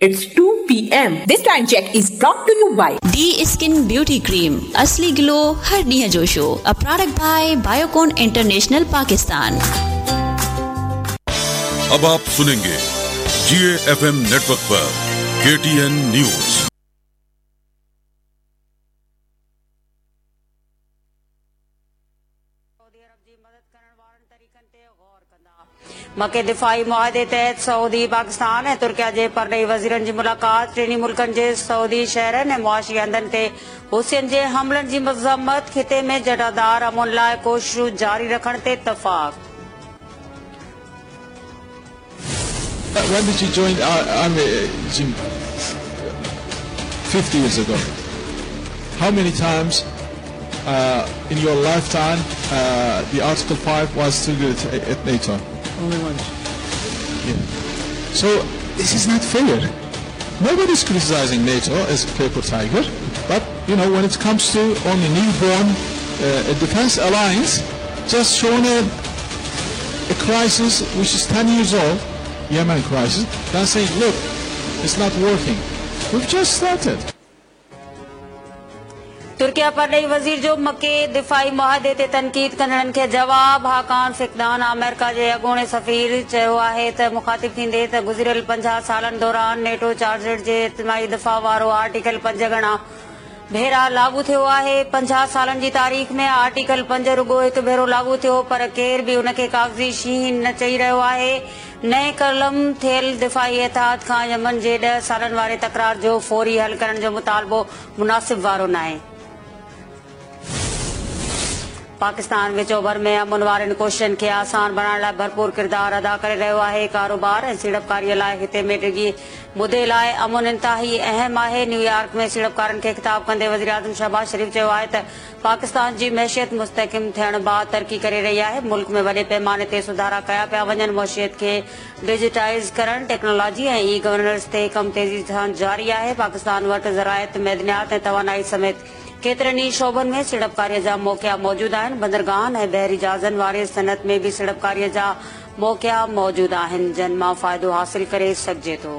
It's 2 PM. This time check is brought to you by. The skin beauty cream اصلي گلو هر ڏينهن جو show a product by Biocon international Pakistan. अब आप सुनेंगे जी F M network पर के टी एन न्यूज। Saudi عرب جي مدد ڪرڻ وارن طريقن تي غور ڪندا. مڪي دفاعي معاهدي تحت سعودي، پاڪستان ۽ ترڪيه جي پرڏيهي وزيرن جي ملاقات، ٽنهي ملڪن جي سعودي شهرن ۽ معاشي هنڌن تي حوثين جي حملن جي مذمت، خطي ۾ جٽادار امن لاء ڪوششون جاري رکڻ تي اتفاق. When did you join army, Jim? 50 years ago. How many times in your lifetime the Article 5 was triggered at NATO? Only once. Yeah. So this is not fair. Nobody's criticizing NATO as a paper tiger, but when it comes to only newborn a defense alliance, just shown a crisis which is 10 years old, Yemen crisis, then saying, look, it's not working. We've just started. Turkiye پرڏيهي وزير جو مڪي دفاعي معاهدي تي تنقيد ڪندڙن کي جواب، هاڪان فقدان آمريڪا جي اڳوڻي سفير چيو آهي ته مخاطب ٿيندي ته گذريل 50 سالن دوران نيٽو چارٽر جي اجتماعي دفاع وارو آرٽيڪل 5 گهڻا ڀيرا لاڳو ٿيو آهي. 50 سالن جي تاريخ ۾ آرٽيڪل 5 رڳو هڪ ڀيرو لاڳو ٿيو، پر ڪير به ان کي ڪاغذي شينهن نه چئي رهيو آهي. نئين قلم ٿيل دفاعي اتحاد کان يمن جي 10 سالن واري تڪرار جو فوري حل ڪرڻ جو مطالبو مناسب وارو ناهي. پاڪستان وچ اوڀر ۾ امن وارين ڪوششن کي آسان بڻائڻ لاء ڀرپور ڪردار ادا ڪري رهيو آهي. ڪاروبار ۽ سيڙپڪاري لاء خطي ۾ ڊگهي مدي لاء امن انتهائي اهم آهي. نيويارڪ ۾ سيڙپڪارن کي خطاب ڪندي وزيراعظم شهباز شريف چيو آهي ته پاڪستان جي معيشت مستحڪم ٿيڻ بعد ترقي ڪري رهي آهي، ملڪ ۾ وڏي پيماني تي سڌارا ڪيا پيا وڃن، معيشت کي ڊجيٽائيز ڪرڻ، ٽيڪنالاجي ۽ اي گورننس تي ڪم تيزي سان جاري آهي، پاڪستان وٽ زراعت، معدنيات ۽ توانائي سميت ڪيترن ئي شعبن ۾ سيڙپڪاري جا موقعا موجود آهن، بندرگاهن ۽ بحري جهازن واري صنعت ۾ به سيڙپڪاري جا موقعا موجود آهن، جن مان فائدو حاصل ڪري سگهجي ٿو.